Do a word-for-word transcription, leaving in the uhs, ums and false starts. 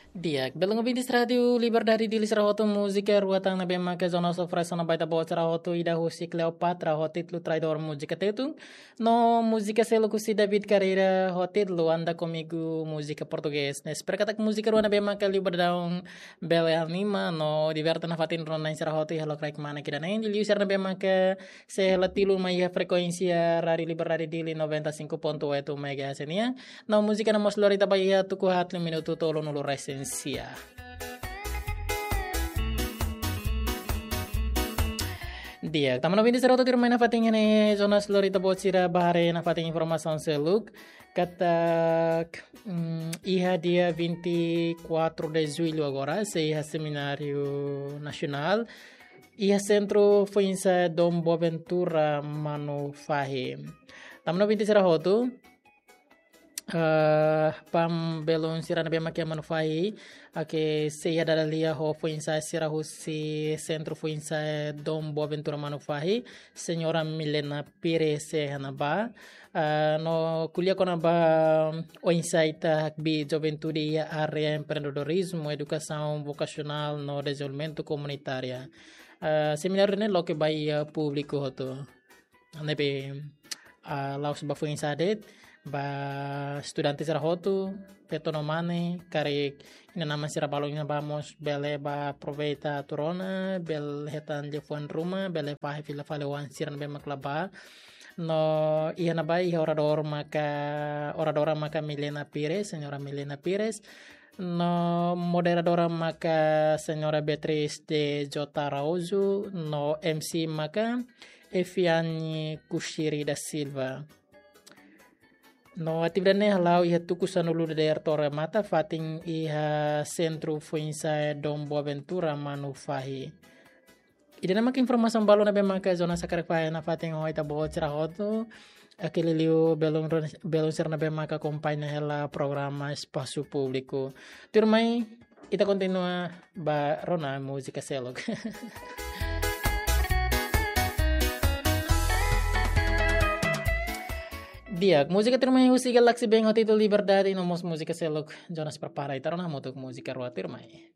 Di'ak, belun ouvintes Rádiu Liberdade Dili sira hotu, múzika rua tan ne'ebé maka Jonas oferese ona ba ita-boot sira hotu, ida husi Cleopatra ho títulu Traidór, múzika Tetun, no múzika seluk husi David Carreira ho títulu Anda Comigo, múzika portugés. Ne'e, espera katak múzika rua ne'ebé maka liu ba daudaun bele anima no diverte nafatin rona-na'in sira hotu iha lokraik kmanek ida-ne'e, liuliu sira ne'ebé maka sei hela tilun mai iha frekuénsia Rádiu Liberdade Dili noventa e cinco ponto oito megahertz nian. No múzika ne'e mós lori ita ba iha tuku haat liu minutu tolunulu resin sia. Di'ak, tama no ouvintes sira hotu, tuirmai nafatin ne'e Jonas lori ita-boot sira ba haree nafatin informasaun seluk. Katak, mm, iha dia vinte e quatro de julho agora, sei iha Semináriu Nasionál iha Sentru Foinsa'e Dom Boaventura Manufahi. Tama no ouvintes sira hotu, eh, ba belun sira ne'ebé maka iha Manufahi, ake sei iha dada lia ho foinsa'e sira husi Sentru Foinsa'e Dom Boaventura Manufahi, Señora Milena Pires sei iha ne'ebá. Ah, no ko'alia kona-ba oinsá ita hakbiit juventude iha área empreendedorizmu, edukasaun vokasionál no dezenvolvimentu komunitária. Ah, semináriu ne'e loke ba iha públiku hotu. Ne'ebé, ah, la'ós ba foinsa'e de'it, ba estudante sira hotu, feto no mane, karik inan-aman sira balun iha ne'ebá mós bele bá aproveita atu rona, bele hetan liafuan ruma, bele fahe fila fali oan sira ne'ebé mak la bá. No iha ne'ebá iha oradór maka, oradora maka Milena Pires, Señora Milena Pires. No moderadora maka Señora Beatriz de J Araújo, no M C maka Efiane Kushiri da Silva. No atividade ne'e hala'o iha tuku sanulu dadeer to'o remata, fatin iha Sentru Foinsa'e Dom Boaventura Manufahi. Ida-ne'e maka informasaun balu ne'ebé maka Jonas hakarak fahe nafatin ho ita-boot sira hotu. Ake liuliu belun, belun sira ne'ebé maka akompaña hela programa Espasu Públiku. Tuirmai, ita kontinua ba rona múzika seluk. Di'ak, múzika tuirmai husi Galaxy Band ho títulu Liberdade, no mós múzika seluk Jonas prepara, ita rona hamutuk múzika rua tuirmai.